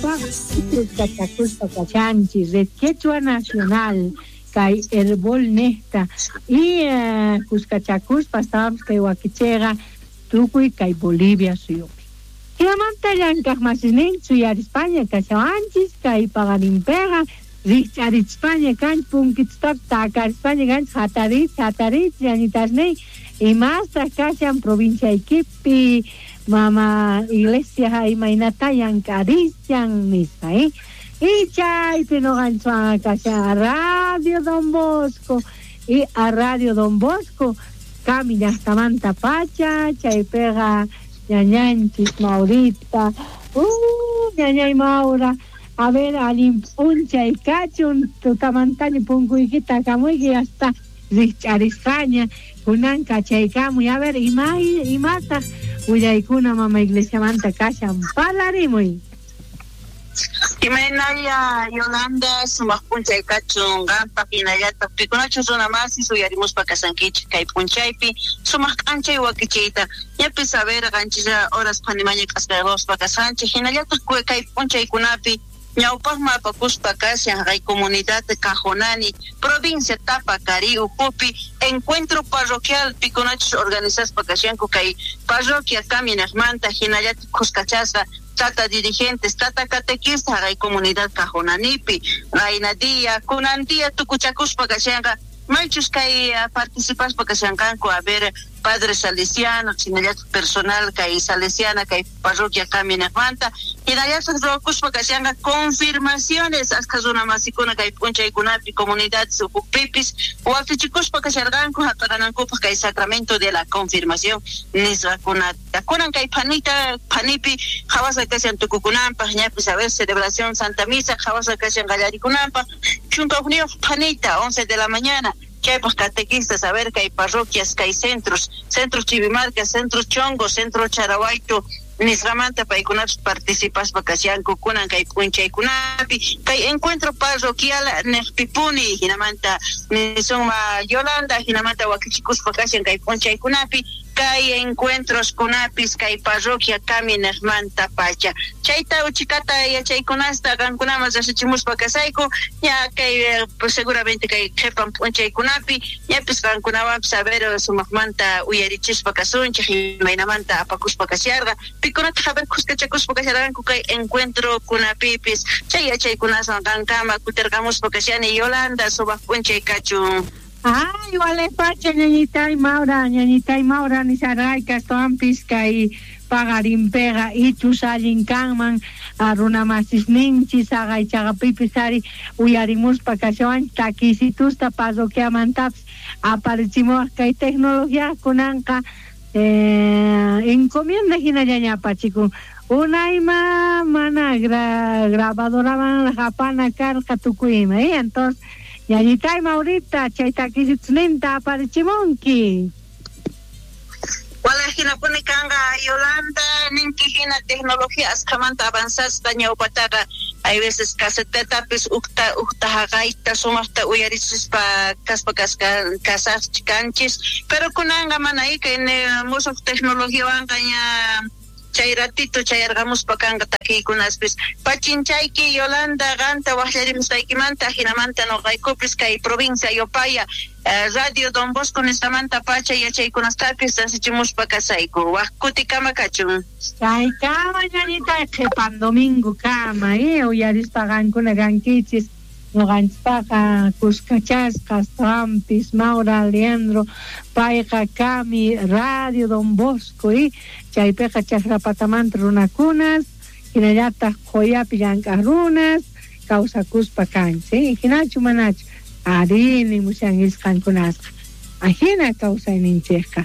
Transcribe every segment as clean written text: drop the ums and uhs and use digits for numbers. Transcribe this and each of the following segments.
Noqanchikpaqa khuskachakuspa kashanchis Red Quechua Nacional kay Herbol nejta y khuskachakuspa astawanpis kay wakicheyqa tukuy kay Bolivia suyupi. Jinamanta llank'aj masisninchis suyarispaña kashawanchis kay paqarinpeqa rijch'arichispaña kanchis punkitustapis takarispaña kanchis jatariychis jatariychis ñañitasniy imastaj kashan provinciaykipi mama iglesia imaynata llank'arishan nispa y chaypi noqanchiswan kashan Radio Don Bosco y a Radio Don Bosco Cami llajtamantapacha chaypeqa ñañanchis Maurita ñañay Maura a ver allin p'unchay kachun tutamantaña punkuykita takamuyki hasta rijch'arisqaña kunan kachaykamuy a ver imataq willaykuna mama iglesiamanta kashan parlarimuy. Imaynalla Yolanda, sumaq p'unchay kachun qampaq hinallataq pikunachus runa masis uyarimuspa kashankichik kay p'unchaypi sumaq k'anchay wakichiyta ñapis a ver qanchis horas phanimaña k'askayquspa kashanchik hinallataq kay p'unchaykunapi ñawpaqman apakuspa kashan kay comunidad Cajonani provincia Tapacarí ukhupi encuentro parroquial pikunachus organizaspa kashanku kay parroquia Caminaqmanta hinallataq khuskachasqa tata dirigentes, tata catequista kay comunidad Cajonanipi qayna día kunan día tukuchakuspa kashanqa maychus kay participaspa kashanqanku a ver padre salesiano hinallataq personal kay salesiana kay parroquia Caminaqmanta hinallataq ruwakuspa kashanqa confirmaciones askha runa masikuna kay p'unchaykunapi comunidades ukhupipis wakichikuspa kasharqanku hap'aqanankupaq kay sacramento de la confirmación nisqakunata kunan kay phanita phanipi qhawasqa kashan tukukunanpaq ñapis a ver celebración Santa Misa qhawasqa kashan qallarikunanpaq chunka hukniyuq phanita 11 de la mañana chaypaq catequistas a ver kay parroquias kay centros centro Chivimarca centro Chongo centro Charahuayto nisqamanta paykunapis participaspa kashanku kunan kay p'unchaykunapi kay encuentro parroquial niqpipuni hinamanta nisunma Yolanda hinamanta wakichikuspa kashan kay p'unchaykunapi kay encuentros kunapis kay parroquia Caminaqmanta pacha chayta uchikata yachaykunasta qankunaman riqsichimuspa kasayku ña kay seguramente kay qhipan p'unchaykunapi ñapis qankunawanpis a ver sumaqmanta uyarichispa kasunchik imaynamanta apakuspa kasharqa pikunataq a ver khuskachakuspa kasharqanku kay encuentro kunapipis chay yachaykunaswan qankama kutirqamuspa kashani Yolanda sumaq p'unchay kachun. Ay, wale pacha ñañitay Maura, ñañitay Maura nisarqayka astawanpis kay paqarinpiqa ichus allin kanman runa masisninchis haqaychaqapipis ari uyarimuspa kashawanchis takisitusta parroquiamantapis aparichimuwaq kay tecnología kunanqa encomienda hinallaña apachikun unayma mana grabadoramanraq apana karqa tukuy ima entonces ñañitay Maurita chay takisitusninta aparichimunki. Wala hinapuni kanqa Yolanda ninki hina tecnología askhamanta avanzasqa ñawpataqa hay veces casetetapis ukta ukta haqayta sumaqta uyarichispa kaspa kasaqchi kanchis pero kunanqa mana kay musuq tecnologiawanqa ña chay ratito chayarqamuspa kanqa takiykunaspis pachinchayki Yolanda qanta waqllarimusqaykimanta hinamanta noqaykupis kay provincia Yopaya Radio Don Bosco nisqamanta pacha yachaykunastapis rasichimuspa kasayku waq kutikama kachun. Chaykama ñañitay qhipan domingo kama uyarispa qankuna kankichis noqanchikpaqa kuskachasqa astawanpis Maura Leandro payqa kami Radio Don Bosco chaypiqa chakrapatamanta runakunas hinallataq qhuyapi llank'aq runas kawsakuspa kanchik hinachu manachu ari nimushankichis qankunasqa ajina kawsayninchikqa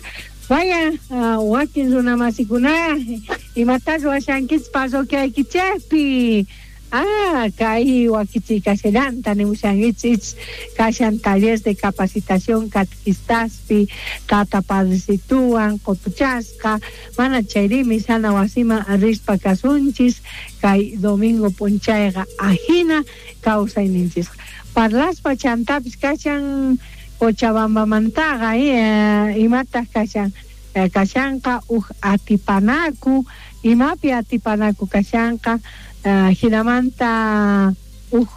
vaya wakin runa masikuna imata ruwashankichis parroquiaykichikpi kay wakichiykashallanta nimushankichis kashan taller de capacitación catequistaspi tata padrecituwan qutuchasqa mana chayri misana wasiman rispa kasunchis kay domingo p'unchayqa ajina kawsayninchisqa parlaspa chantapis kashan Cochabambamantaqa imataq kashan Kashanqa uj atipanaku, imapi atipanaku kashanqa, jinamanta uj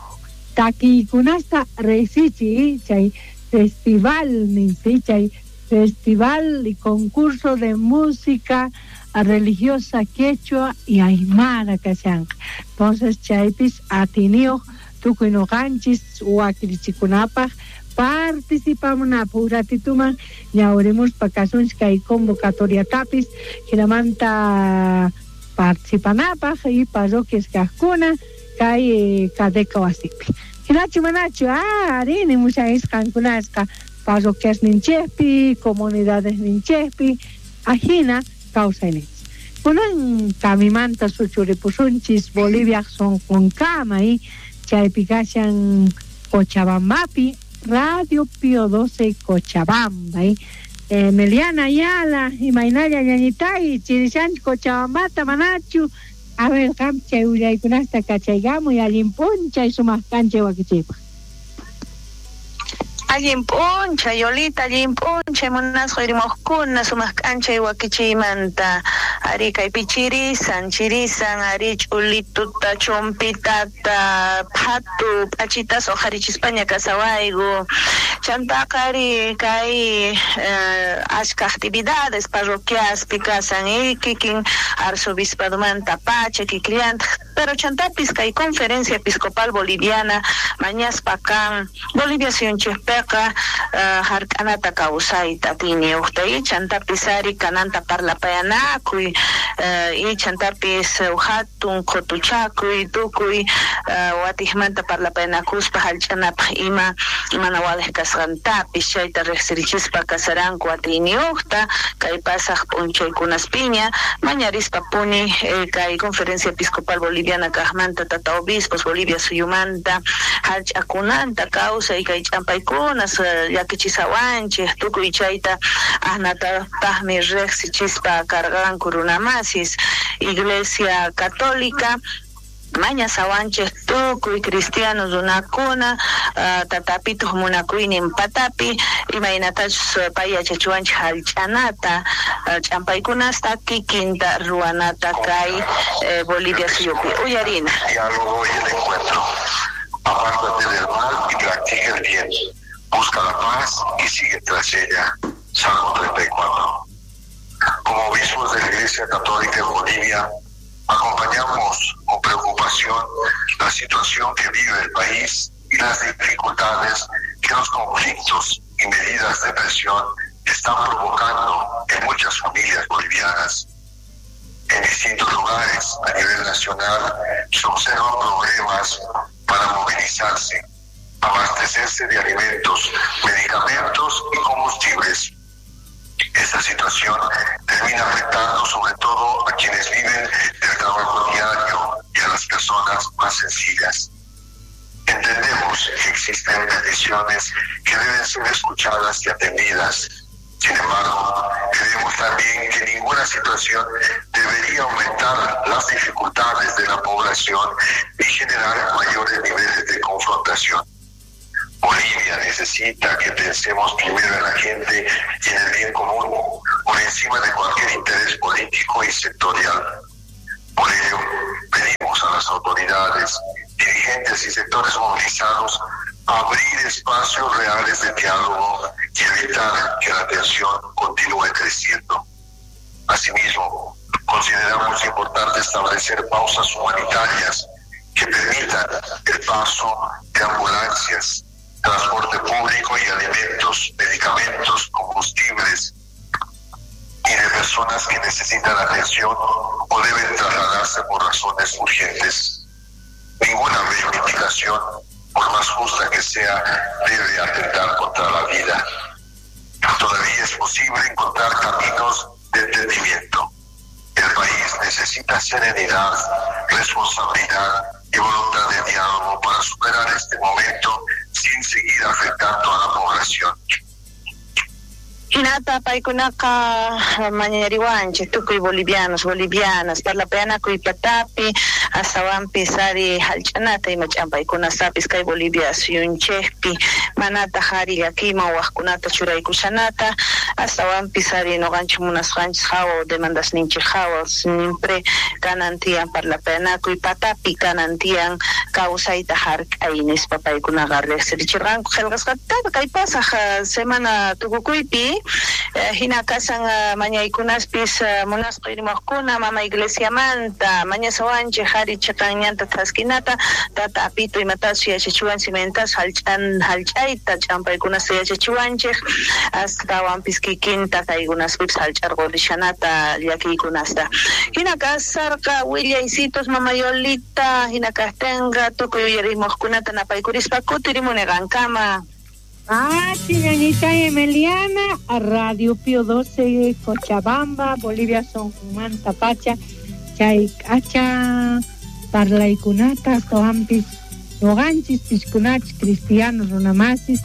takiykunasta rejsichiy chay festival ninsi, chay festival y concurso de música religiosa quechua y aymara kashanqa. Entonces chaypis atiniyoj tukuy noqanchis wakirichikunapaj participamunapaj uj ratituman ñawrimuspa kasunchis kay convocatoriatapis jinamanta participanapaj y parroquias kajkuna kay Cadeca wasipi. Jinachu manachu? Arí, nimushan qankunasqa parroquias ninchejpi, comunidades ninchejpi, ajina kawsayninchis. Kunan kamimanta suchuripusunchis Bolivia sonqonkama chaypi kashan Cochabambapi, Radio Pío 12 Cochabamba. Meliana Ayala, imaynalla ñañitay, chirishanchis Cochabambata manachu. A ver, qam chay willaykunasta kachaykamuy allin p'unchay sumaq k'anchay wakichiypaq. Allin p'unchay, Yolita, allin p'unchay, munasqa uyrimuqkuna sumaq k'anchay wakichiymanta. Ari kaypi chirisan, chirisan, ari ch'ulituta, chumpitata, phatu, p'achitas uqharichispaña kasawayku. Chantaqa ari kay ashka actividades parroquiaspi kasan, kikin arzobispadomanta pacha, kikillantaq. Pero chantapis kay Conferencia Episcopal Boliviana mañaspa kan Bolivia suyunchikpiqa hark'anata kawsayta atiyniyuqta y chantapis ari kananta parlapayanakuy y chantapis hatun qutuchakuy tukuy watijmanta parlapayanakuspa hallch'anapaq ima mana waliq kasqantapis chayta riqsirichispa kasaranku atiyniyuqta kay pasaq p'unchaykunaspiña mañarispa puni kay Conferencia Episcopal Boliviana kaqmanta tata obispos Bolivia suyumanta hallch'akunanta kawsay kay ch'ampaykunas llakichisawanchik tukuy chayta ajnatataqmi riqsichispa karqanku runamasis Iglesia Católica mañasawanchik tukuy cristiano runakuna tatapituq munakuynin patapi imaynatachus pay yachachiwanchik hallch'anata ch'ampaykunasta kikinta ruwanata kay Bolivia suyupi uyarina. Diálogo y el encuentro. Apártate del mal y practica el bien. Busca la paz y sigue tras ella. Salmo 34. Como obispos de la Iglesia Católica en Bolivia, acompañamos con preocupación la situación que vive el país y las dificultades que los conflictos y medidas de presión están provocando en muchas familias bolivianas. En distintos lugares a nivel nacional se observan problemas para movilizarse, abastecerse de alimentos, medicamentos y combustibles. Esta situación termina afectando sobre todo a quienes viven del trabajo diario y a las personas más sencillas. Entendemos que existen peticiones que deben ser escuchadas y atendidas. Sin embargo, creemos también que ninguna situación debería aumentar las dificultades de la población y generar mayores niveles de confrontación. Bolivia necesita que pensemos primero en la gente y en el bien común, por encima de cualquier interés político y sectorial. Por ello, pedimos a las autoridades, dirigentes y sectores movilizados abrir espacios reales de diálogo y evitar que la tensión continúe creciendo. Asimismo, consideramos importante establecer pausas humanitarias que permitan el paso de ambulancias, transporte público y alimentos, medicamentos, combustibles y de personas que necesitan atención o deben trasladarse por razones urgentes. Ninguna reivindicación, por más justa que sea, debe atentar contra la vida. Todavía es posible encontrar caminos de entendimiento. El país necesita serenidad, responsabilidad y voluntad de diálogo para superar este momento sin seguir afectando a la población. Hinata paykunaqa mañariwanchik tukuy bolivianos, bolivianas, parlapayanakuy patapi, Astawanpis ari jallch'anata ima ch'ampaykunastapis kay Bolivia suyunchejpi manataj ari llakiyman wajkunata churaykushanata, astawanpis ari noqanchej munasqanchis jawa demandasninchej jawa siempre kanan tiyan parlapayanakuy patapi kanan tiyan kawsayta jark'ay nispa paykunaqa riqsirichirqanku qillqasqata kay pasaj semana tukukuypi hina kasan mañaykunaspis munasqa irimuqkuna mama iglesiamanta mañasawanchej ari chiqan ñanta thaskinata tata apito imatachu yachachiwanchik imaynatas jallch'ayta ch'ampaykunasta yachachiwanchej astawanpis kikinta kaykunaspipis jallch'arqurishanata llakiykunasta hina kasarqa willaycitos mama Yolita hina kajtinqa tukuy uyarimuqkunata napaykurispa kutirimuni qankama. Ah, ñañita Emiliana, Radio Pío 12, Cochabamba, Bolivia, Sonjumanta, Pacha, chay k'acha parlaykunata astawanpis noqanchis piskunachus cristianos runamasis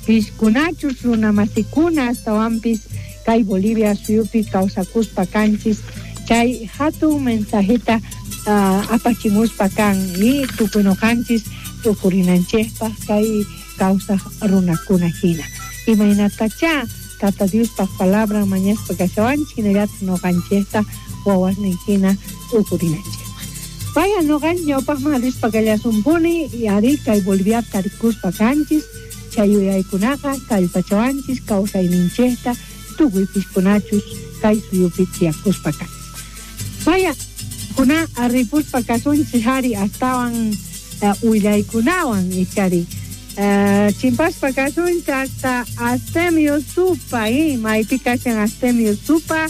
piskunachus runamasikuna astawanpis kay Bolivia suyupi kawsakuspa kanchis chay hatun mensajeta apachimuspa kan y tukuy noqanchis tukurinanchejpaj kay kawsaj runakuna hina imaynatacha Tata Diospaj palabra mañaspa kashawanchik hinallataq noqanchejta wawasnin hina ukurinanchejpaj. Vaya noqanchis ñawpaqman rispa kallasunpuni y ari kay Bolivia tarikuspa kanchis chay yuyaykunaqa kallpachawanchis kawsayninchejta tukuy piskunachus kay suyupi tiyakuspa kanchis. Vaya kuna ripuspa kasunchis ari astawan willaykunawan ichari chimpaspa kasunchis hasta Astemio Supa maypi kashan Astemio Supa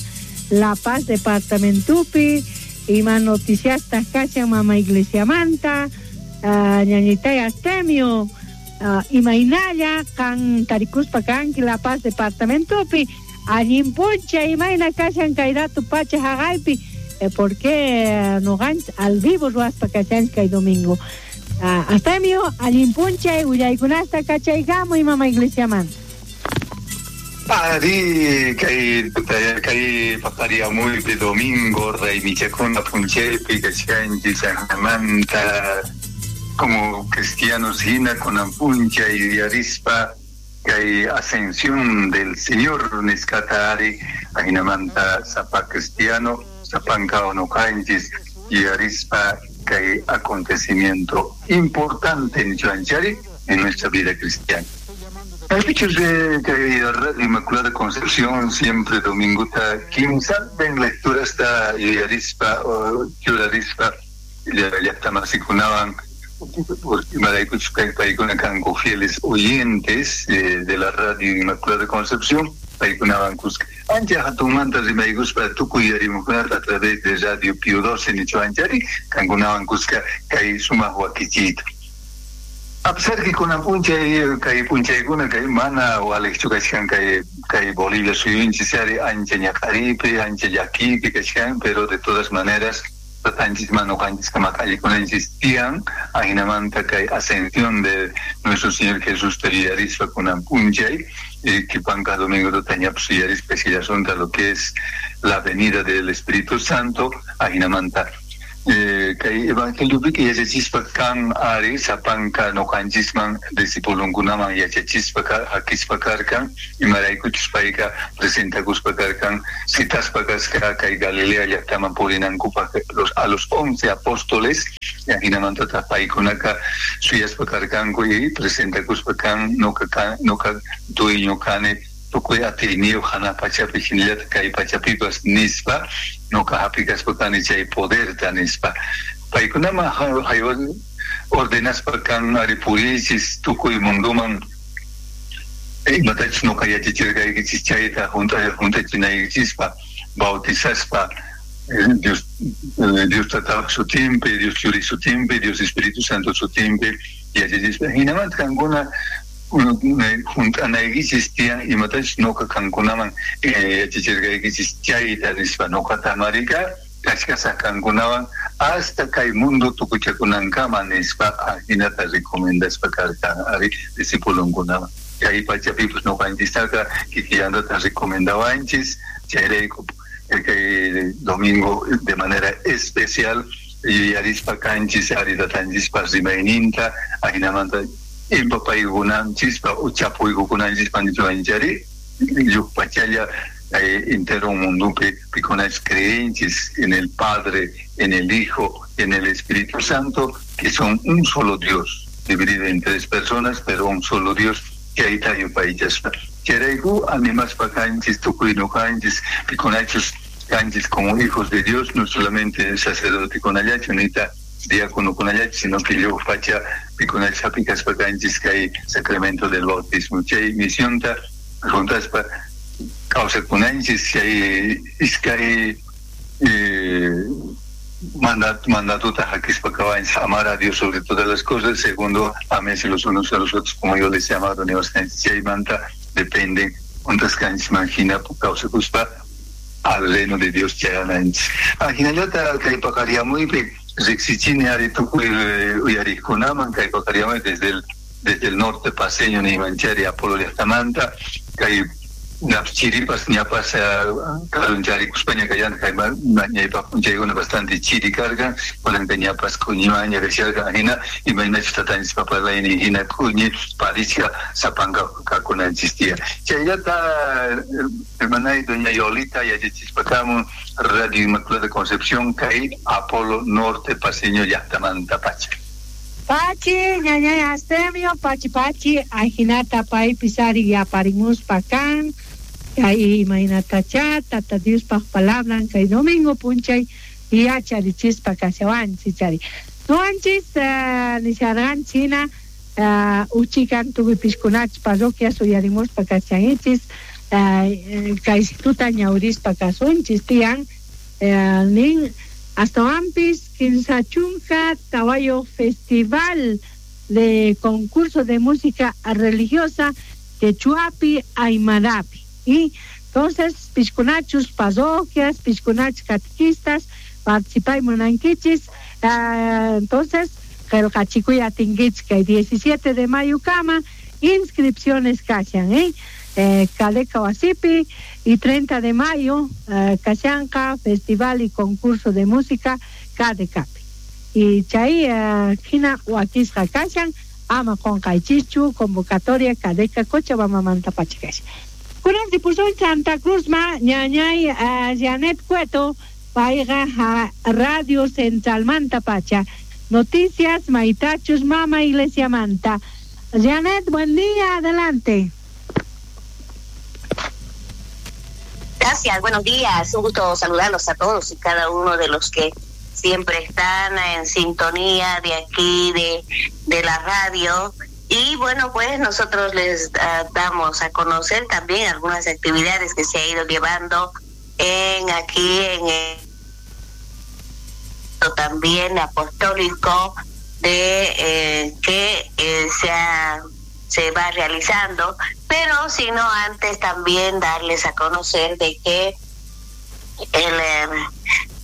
La Paz departamentopi ima noticiasta kashan mama iglesiamanta ñañitay Astemio imaynalla kan tarikuspa kanki La Paz departamentopi allin puncha imayna kashan kay rato pacha jaqaypi porque noqanchis al vivo ruwaspa kashanchis kay domingo. Astemio allin punchay willaykunasta kachaykamuy mama iglesiamanta. Ari kay kay paqariamuypi domingo raymichakuna punchaypi kachkanchis Chajnamanta como cristianos hina kunan punchay yuyarispa kay ascensión del Señor nisqata ari ajinamanta sapa cristiano sapanka unuqanchis yuyarispa kay acontecimiento importante nichuanchari en nuestra vida cristiana. Kaypichus kay Radio Inmaculada Concepción siempre domingota kimsantin lecturasta yuyarispa churarispa llaqtamasikunawan imaraykuchus paykuna kanku fieles oyentes de la Radio Inmaculada Concepción paykunawan kuska ancha hatunmanta rimaykuspa tukuy yuyarimuqkunata a través de Radio Pío 12 nichuanchari kankunawan kuska kay sumaq wakichiyta. A pesar que kunan punchay kay punchaykuna kay mana waliqchu kachkan kay Bolivia suyunchis ari ancha ñaq'aripi ancha llakipi kachkan, pero de todas maneras tatanchis manuqanchis kamaqallikunanchis tiyan ajinamanta kay ascensión de nuestro Señor Jesús yuyarispa kunan punchay kipanka domingo tutañapis yuyarispa sillasunta lo que es la venida del Espíritu Santo ajinamanta kay evangeliopiqa yachachispa kan ari sapanka noqanchisman discipulunkunaman yachachispa hakispa karkan imaraykuchus payqa presentakuspa karkan citaspa kasqa kay Galilea llaqtaman purinankupaq a los 11 apóstoles ajinamantataq paykunaqa suyaspa karkanku y presentakuspa kan noqa dueño kani tukuy atiyniyuq hanaq pachapi hinallataq kay pachapipas nispa noqa hapikaspa kani chay poderta nispa paykunaman ordenaspa kan ari puriychis tukuy munduman imatachus noqa yachachirqaykichis chayta junt'achinaykinchispa bautizaspa Dios Tata sutinpi, Dios Churi sutinpi, Dios Espíritu Santo sutinpi yachachispa hinamanta kankuna junt'anaykichis tiyan imatachus noqa kankunaman yachachirqaykichis chayta nispa noqata marika kachkasaq kankunawan hasta kay mundo tukuchakunankama nispa ajinata recomendaspa karkan ari discipulunkunaman kay pachapipas noqanchistaqa kikillantata recomendawanchis chayrayku kay domingo de manera especial Yuyarispa kanchis ari tatanchispa rimayninta ajinamanta impapaykunanchispa uchapuykukunanchispa nichuanchari llukpachalla entero mundupi pikunach creenchis en el Padre, en el Hijo, en el Espíritu Santo, que son un solo Dios, dividido en tres personas, pero un solo Dios, chayta yupaychaspa. Chayrayku animaspa kanchis tukuy nuqanchis pikunachus kanchis como hijos de Dios, no solamente sacerdote kunallachu nita diácono kunallachu, sino que llukpacha pikunach hapikaspa kanchis kay sacramento del bautismo. Chay misionta juntaspa kawsakunanchis chay iskay mandatota hakispa kawanchis, amar a Dios sobre todas las cosas, segundo, ámense los unos a los otros como yo les he amado, chaymanta depende juntas kanchis manjina kawsakuspa al reino de Dios chayananchis. Ajinallata kay paqaryamuypi riqsichini ari tukuy uyariqkunaman kay paqaryamuypi desde el norte paseño niymanchari Apolo llaqtamanta kay chiripas ñapas karuncharikuspaña kayan kay ñaypaq p'unchaykuna bastante chiri karqa kunanka ñapas q'uñimaña kasharqa hina imaynachus tatanchispa parlaynin hina q'uñi parichka sapanka kakunanchis tiyan. Chayllata hermanay doña Yolita yachachispa kamun Radio Inmaculada Concepción kay Apolo Norte paseño llaqtamanta pacha. Pachi, ñañay Astemio, pachi pachi, ajinata paypis ari yaparimuspa kan, kay imaynatacha, tata Diospaj palabran, kay domingo p'unchay yacharichispa kashawanchis chari. Nuwanchis nisharqanchis hina uchikan tukuy pishkunachis parroquias uyarimuspa kashanchis, kaysituta ñawrispa kasunchis tiyan, nin astawanpis 34 Festival de Concurso de Música Religiosa Quechuapi Aymarapi. Y entonces, pishkunachus parroquias, pishkunachus catequistas, participay munankichis. Entonces, qillqachikuy atinkichis kay 17 de mayo kama, inscripciones kashan, Cadeca wasipi, y 30 de mayo, kashanqa Festival y Concurso de Música Cadecapi. Y chay hina wakisqa kashan, ama qunqaychischu convocatoria Cadeca Cochabambamanta pacha kashan. Kunan ripusun Santa Cruz ma ñañay Janet Cueto, payqa Radio Centralmanta pacha. Noticias Maitachus Mama Iglesia Manta. Janet, buen día, adelante. Gracias, buenos días, un gusto saludarlos a todos y cada uno de los que siempre están en sintonía de aquí, de la radio. Y bueno, pues nosotros les damos a conocer también algunas actividades que se ha ido llevando en aquí, en el también apostólico de que se va realizando, pero sino antes también darles a conocer de que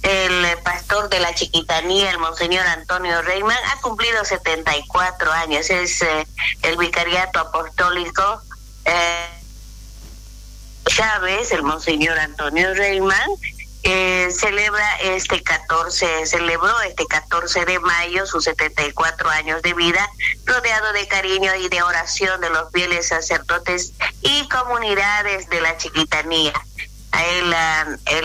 el pastor de la Chiquitanía, el monseñor Antonio Reimann, ha cumplido 74 años, es el vicariato apostólico Chávez, el monseñor Antonio Reimann, celebró este 14 de mayo sus 74 años de vida, rodeado de cariño y de oración de los fieles sacerdotes y comunidades de la Chiquitanía. Él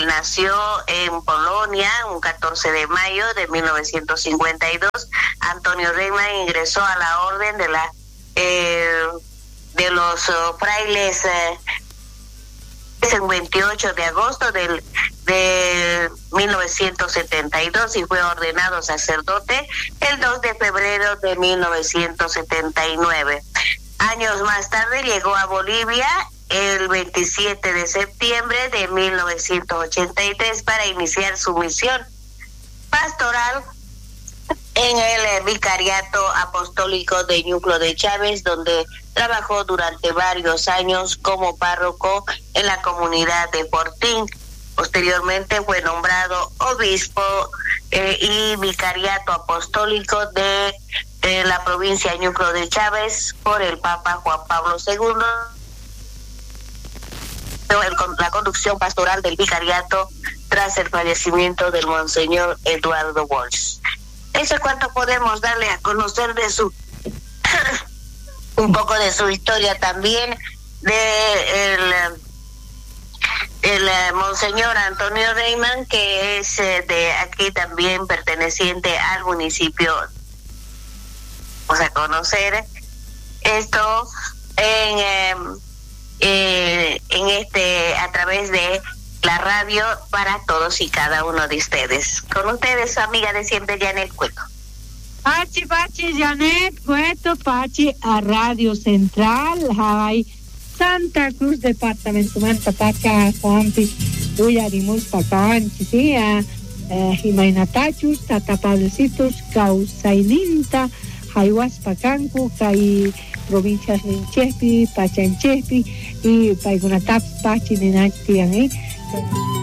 nació en Polonia un 14 de mayo de 1952. Antonio Reimann ingresó a la orden de de los frailes el 28 de agosto de 1972 y fue ordenado sacerdote el 2 de febrero de 1979. Años más tarde llegó a Bolivia el 27 de septiembre de 1983 para iniciar su misión pastoral en el Vicariato Apostólico de Ñuclo de Chávez, donde trabajó durante varios años como párroco en la comunidad de Fortín. Posteriormente fue nombrado obispo y vicariato apostólico de la provincia de Ñuclo de Chávez por el Papa Juan Pablo II. La conducción pastoral del vicariato tras el fallecimiento del monseñor Eduardo Walsh. Eso es cuanto podemos darle a conocer de su un poco de su historia también de el monseñor Antonio Reimann, que es de aquí también perteneciente al municipio. Vamos a conocer esto en este a través de la radio para todos y cada uno de ustedes. Con ustedes, su amiga de siempre, Janet Cueto. Pachi, Pachi, Janet Cueto, Pachi, a Radio Central, Hawaii, Santa Cruz, Departamento Manta, Pacha, Juanpis, Uyarimus, Pacanchi, sí, a Jimainatachus, Tata Pablecitos, Causaininta, Jaiwas, Pacancu, Kai, provincias Ninchespi, Pachanchespi, y Paigunataps, Pachi, Ninachtian, ¿eh?